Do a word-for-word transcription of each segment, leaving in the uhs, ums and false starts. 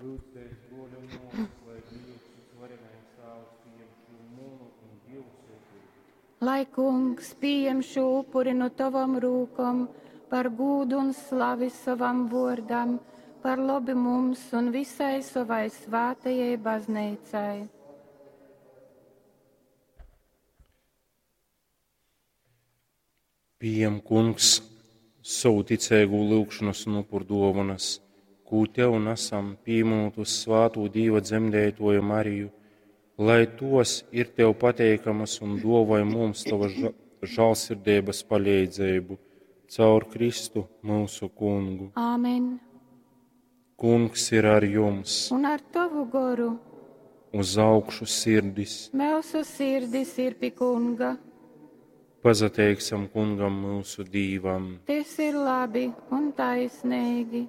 Lyudzitēs, bruoļi un muosys, lai Dīvs, Vysvarenais Tāvs, pījem šū munu un jiusu upuri. Lai Kungs pījem šū upuri nu tovom rūkom par gūdu un slavi sovam vuordam, par lobu mums un visai sovai svātajai bazneicai. Pījem, Kungs, sovu ticeigū lyugšonas un upurduovanas, kū tev nasam, pīmynūt vyssvātū Dīva dzemdeituoju Mariju, lai tuos ir tev pateikamas un duovoj mums tovas žālsirdeibas paleidzeibu caur Kristu myusu Kungu. Āmen. Kungs ir ar jums. Un ar tovu goru. Uz augšu sirdis. Myusu sirdis ir pi Kunga. Pasateiksim Kungam myusu Dīvam. Tys ir labi un taisneigi.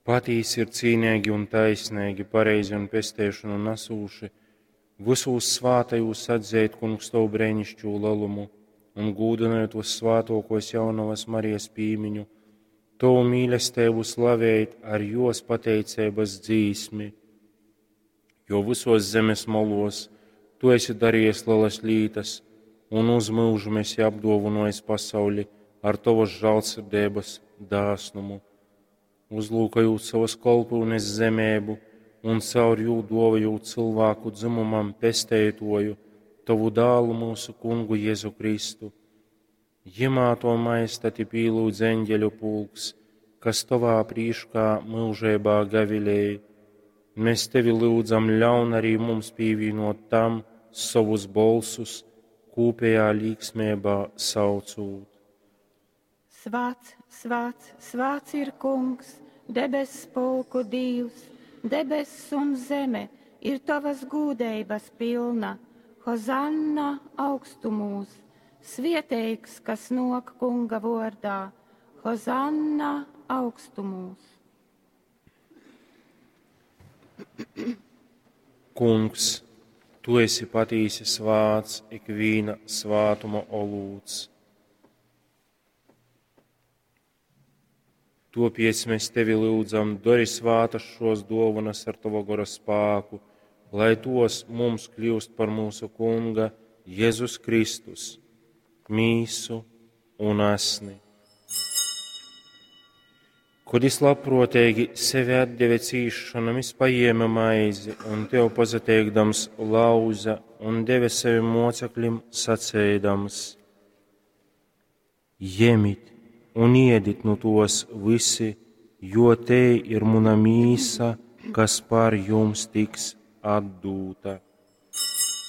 Patīsi ir cīneigi un taisneigi, pareizi un pesteišonu nasūši, vysūs svātajūs atzeit, Kungs, tovu breinišķū lelumu un gūdynojot vyssvātuokuos jaunovas Marijas pīmiņu, tovu mīlesteibu slavēt ar juos pateiceibys dzīsmi. Jo vysos zemes molos tu esi dariejis lelas lītas un uz myužu esi apduovynuojis pasauli ar tovas žālsirdeibys dāsnumu, uzlūkojūt sovas kolpyunes zemeibu un caur jū duovojūt cylvāku dzymumam Pesteituoju, tovu dālu myusu Kungu Jezu Kristu. Jimā to majestati pīlyudz eņģeļu pulks, kas tovā prīškā myužeibā gavilej. Mēs tevi lyudzam, ļaun arī mums pīvīnot tam sovus bolsus, kūpējā līksmībā saucūt. Svāts, svāts, svāts ir Kungs, debess pulku Dīvs, debess un zeme ir tavas gūdeibas pilna. Hozanna augstumūs, svieteigs, kas nok Kunga vordā. Hozanna augstumūs. Kungs, tu esi patīsi svāts, ikvīna svātuma olūts. Topiec mēs tevi lyudzam, dori svātas šos dovanas ar tava gora spāku, lai tos mums kļūst par mūsu Kunga Jēzus Kristus, mīsu un asni. Kod jis labpruoteigi sevi atdeve cīsšonam, jis pajieme maizi un tev pasateikdams lauza un deve savim moceklim saceidams: Jemit un iedit nu tos visi, jo tei ir muna mīsa, kas par jums tiks atdūta.